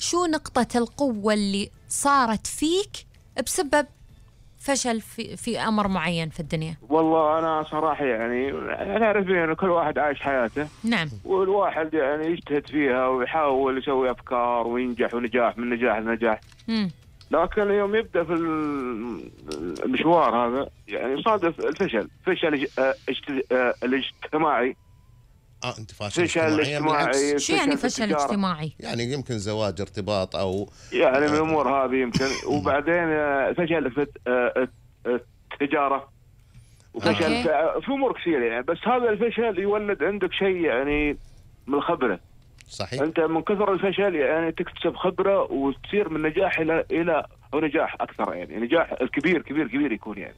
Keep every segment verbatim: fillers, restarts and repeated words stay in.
شو نقطة القوة اللي صارت فيك بسبب فشل في, في أمر معين في الدنيا؟ والله أنا صراحة يعني نعرف إنه كل واحد عايش حياته. نعم. والواحد يعني يجتهد فيها ويحاول يسوي أفكار وينجح ونجاح من نجاح لنجاح. مم. لكن يوم يبدأ في المشوار هذا يعني يصادف الفشل، فشل الاجتماعي. اه انت فاشل فشل اجتماعي؟ اجتماعي. شو يعني فشل اجتماعي؟ يعني يمكن زواج، ارتباط، او يعني من الامور هذه يمكن. وبعدين فشل في التجاره، وفشل في امور كثيره يعني. بس هذا الفشل يولد عندك شيء يعني من الخبره. صحيح. انت من كثر الفشل يعني تكتسب خبره وتصير من نجاح الى الى او نجاح اكثر، يعني نجاح الكبير كبير كبير يكون يعني.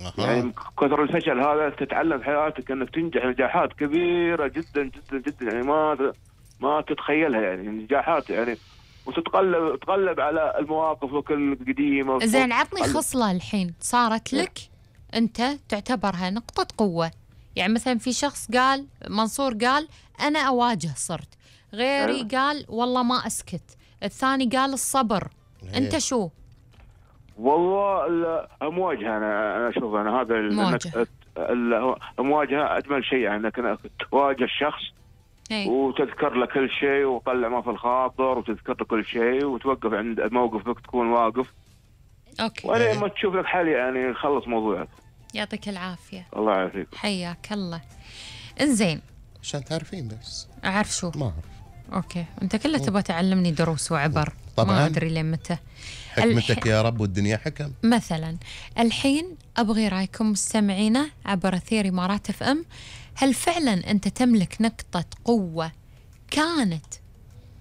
أه. يعني من كثر الفشل هذا تتعلم حياتك انك تنجح نجاحات كبيره جدا جدا جدا، يعني ما ما تتخيلها، يعني نجاحات يعني، وتتقلب تقلب على المواقف القديمه. زين عطني خصله الحين صارت لك انت تعتبرها نقطه قوه. يعني مثلا في شخص قال، منصور قال أنا أواجه صرت، غيري أه. قال والله ما أسكت، الثاني قال الصبر. هي. أنت شو؟ والله المواجهة. أنا أنا أشوف أنا هذا المواجهة المواجهة أجمل شيء، يعني أنك تواجه الشخص. هي. وتذكر له كل شيء وطلع ما في الخاطر وتذكر له كل شيء وتوقف عند موقفك، تكون واقف. أوكي. وأنا ما تشوف لك حل يعني خلص موضوعك. يعطيك العافية. الله يعافيك. حياك الله. إنزين. عشان تعرفين بس. أعرف شو؟ ما أعرف. أوكي، أنت كله تبغى تعلمني دروس وعبر. طبعاً. ما أدري لين متى. حكمتك الح... يا رب والدنيا حكم. مثلا الحين أبغي رأيكم مستمعينا عبر أثير إمارات اف ام. هل فعلا أنت تملك نقطة قوة كانت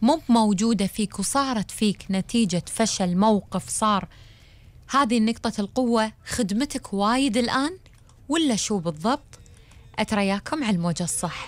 مو موجودة فيك وصارت فيك نتيجة فشل موقف صار، هذه النقطة القوة خدمتك وايد الآن، ولا شو بالضبط؟ أترياكم على الموجة الصح.